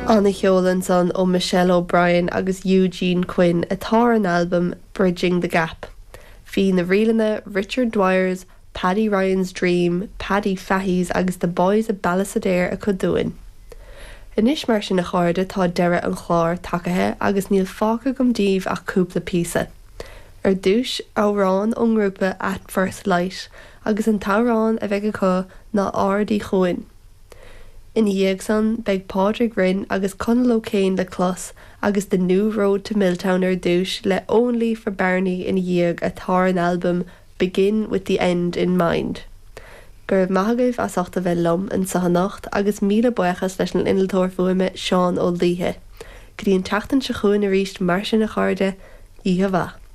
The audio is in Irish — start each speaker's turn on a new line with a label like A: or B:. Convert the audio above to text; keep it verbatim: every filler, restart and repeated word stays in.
A: An-cheol ansan ó Michelle O'Brien agus Eugene Quinn atá ar an albam Bridging the Gap. Bhí na ríleanna Richard Dwyer's, Paddy Ryan's Dream, Paddy Fahy's agus The Boys of Ballisodare acu dúinn. Anois mar sin a chairde tá deireadh an chláir tagaithe agus níl fágtha agam daoibh ach cúpla píosa. Ar dtús amhrán ón ngrúpa At First Light agus an t-amhrán a bheidh acu ná Ard Uí Chuain. Ina dhiaidh san beidh Pádraig Rynne agus Conal O'Kane le clos agus The New Road to Milltown ar dtús le Only for Barney ina dhiaidh atá ar an albam Begin with the End in Mind. Go raibh maith agaibh as ucht a bheith liom anseo anocht agus míle buíochas leis an innealtóir fuaime Seán Ó Laoithe. Go dtí an tseachtain seo chugainn arís mar sin a chairde, oíche mhaith.